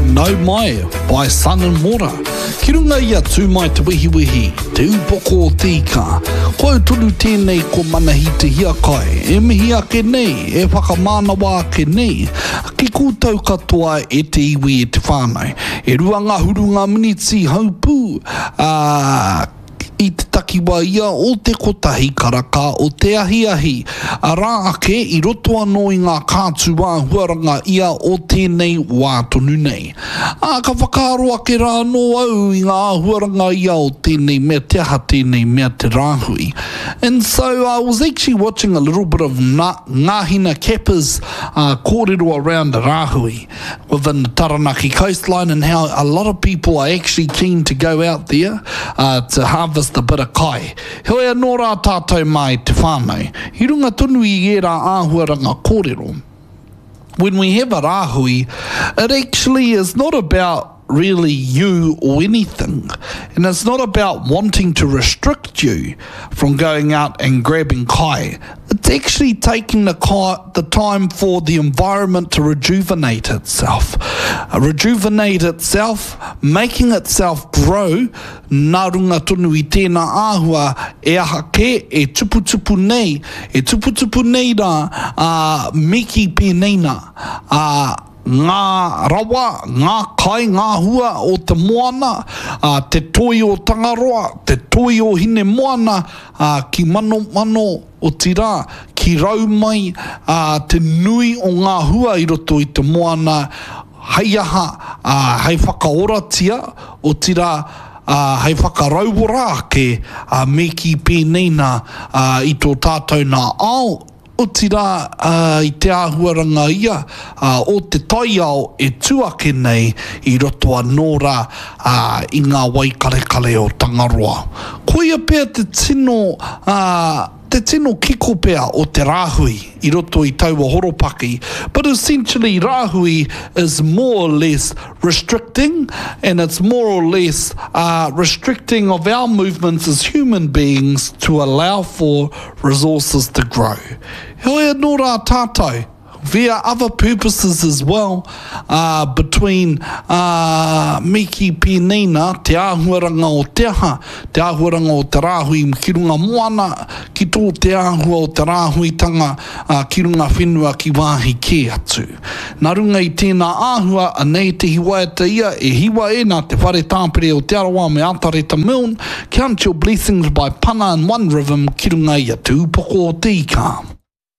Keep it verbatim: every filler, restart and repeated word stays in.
Nau Mai by Sun and Water. Ki runga i a Tū Mai Te Wehiwehi, te upoko o te ika. Ko au tonu tēnei ko Manahi Te Hiakai, e mihi ake nei, e whakamānawa ake nei, ki koutou katoa e te iwi e te whānau. E rua ngahuru ngā miniti haupū, ā, i te takiwā ia o te kotahi karaka o te ahiahi. Arā ake, i roto anō i ngā kātū āhuaranga ia o tēnei wā tonu nei. Ā, ka whakaaro ake rā anō au i ngā āhuaranga ia o tēnei mea, te aha tēnei mea te rāhui. And so I was actually watching a little bit of Ngāhina Capper's uh, kōrero around the rāhui within the Taranaki coastline and how a lot of people are actually keen to go out there uh, to harvest a bit of kai. Heoi anō rā tātou mā i te whānau, i runga tonu i ērā āhuaranga kōrero. When we have a rāhui, it actually is not about really you or anything. And it's not about wanting to restrict you from going out and grabbing kai. It's actually taking the, kai, the time for the environment to rejuvenate itself. Uh, rejuvenate itself, making itself grow, nā runga tonu i tēnā āhua e aha kē, e tuputupu nei, e tuputupu nei rā, ā, me kī pēnei nā, ā, ngā rawa, ngā kai, ngā hua o te moana, ā, te toi o Tangaroa, te toi o Hinemoana, ā, ki manomano, otirā, ki rau mai, ā, te nui o ngā hua i roto i te moana, hei aha, ā, hei whakaoratia, otirā, ā, hei whakarauora ake, ā, me kī pēnei nā, ā, i tō tātou nā ao, otirā, ā, i te āhuaranga ia, ā, o te taiao e tū ake nei i roto anō rā, ā, i ngā wai karekare o Tangaroa. Koia pea te tino, ā, te tino kiko pea o te rāhui i roto i taua horopaki, but essentially rāhui is more or less restricting and it's more or less uh, restricting of our movements as human beings to allow for resources to grow. Heoi anō rā tātou, via other purposes as well, uh, between uh, me kī pēnei nā, te āhuaranga o te aha, te āhuaranga o te rāhui ki runga moana, ki tō te āhua o te rāhuitanga uh, ki runga whenua ki wāhi kē atu. Nā runga i tēnā āhua, anei te hiwaiata ia e hiwa e nā te whare tāpere o Te Arawa me Atareta Milne, Count Your Blessings by Pana and One Rhythm ki runga i a Te Upoko o Te Ika.